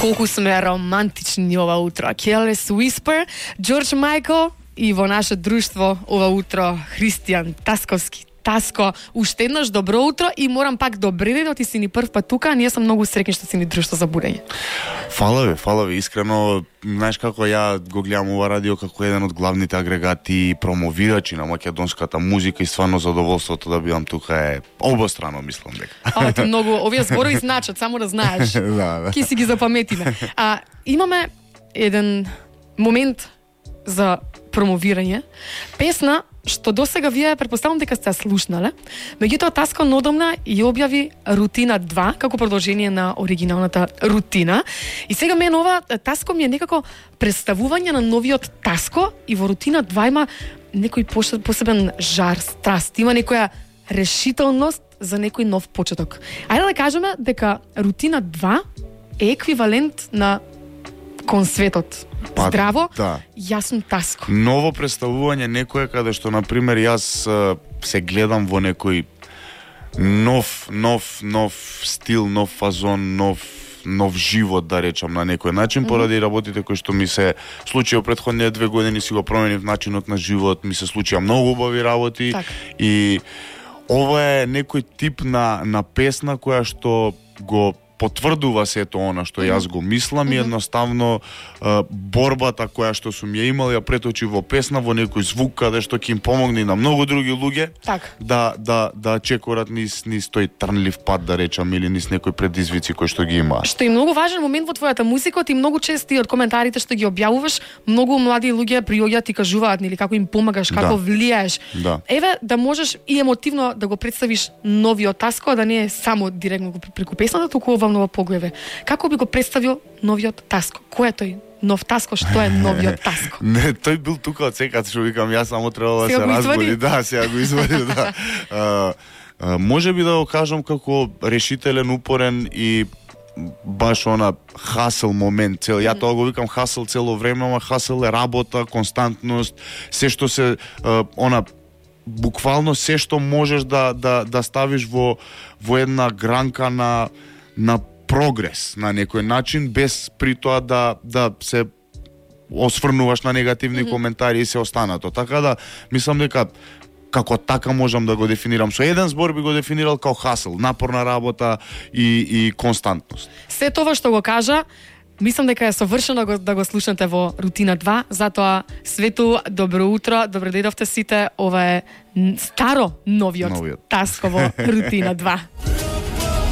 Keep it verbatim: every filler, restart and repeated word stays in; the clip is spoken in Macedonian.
Колку сме романтични ова утро. Careless Whisper, Джордж Майкл и во наше друштво ова утро Христијан Тасковски. Таско, уште еднаш добро утро и морам пак добре ден, ти си ни прв пат тука, ние сум многу среќни што си ни друштво за будење. Фала ви, фала ви, искрено, знаеш како ја го гледам ова радио како еден од главните агрегати и промовирачи на македонската музика и стварно задоволството да бидам тука е обострано, мислам дека. А, ти многу, овие зборови значат, само да знаеш. Да, да. Ки си ги запаметиме. А имаме еден момент за промовирање. Песна што досега вие претпоставувам дека сте слушнале. Меѓутоа Таско одамна и објави Рутина два како продолжение на оригиналната Рутина. И сега мен ова Таско ми е некако представување на новиот Таско и во Рутина два има некој посебен жар, страст, има некоја решителност за некој нов почеток. Ајде да кажеме дека Рутина два е еквивалент на кон светот. Па, здраво, да. Јасно Таско. Ново представување некое каде што, например, јас се гледам во некој нов, нов, нов стил, нов фазон, нов нов живот, да речам, на некој начин, mm-hmm. поради работите кои што ми се случија претходните две години, си го променив начинот на живот, ми се случија многу убави работи. Так. И ова е некој тип на, на песна која што го потврдува сето она што јас го мислам, mm-hmm. и едноставно е, борбата која што сум ја имал ја преточи во песна, во некој звук каде што ќе им помогне на многу други луѓе так. да да да чекорат низ низ тој трнлив пат, да речам, или низ некои предизвици кои што ги има. Што е многу важен момент во твојата музика, ти многу чести од коментарите што ги објавуваш, многу млади луѓе приоѓаат и кажуваат нели како им помагаш, како да. влијаеш. Да. Еве да можеш и емотивно да го представиш новиот Таско, да не е само директно преку песната, туку ова нова погледа. Како би го представил новиот Таско? Кој е тој нов Таско? Што е новиот Таско? Не, тој бил тука од секад, што викам, јас само треба да се разбуди. Да, сега го извади, да. А, а, може би да го кажам како решителен, упорен и баш она хасел момент цел. Ја тоа го викам хасел цело време, ама хасел е работа, константност, се што се а, она буквално се што можеш да да да ставиш во во една гранка на на прогрес на некој начин, без при тоа да да се осврнуваш на негативни mm-hmm. коментари и се останато. Така да мислам дека како така можам да го дефинирам. Со еден збор би го дефинирал како хасел, напорна работа и и константност. Се тоа што го кажа, мислам дека е совршено да го слушнете во Рутина два, затоа Свету, добро утро, добро дојдовте сите, ова е старо новиот, новиот. Таско во Рутина два.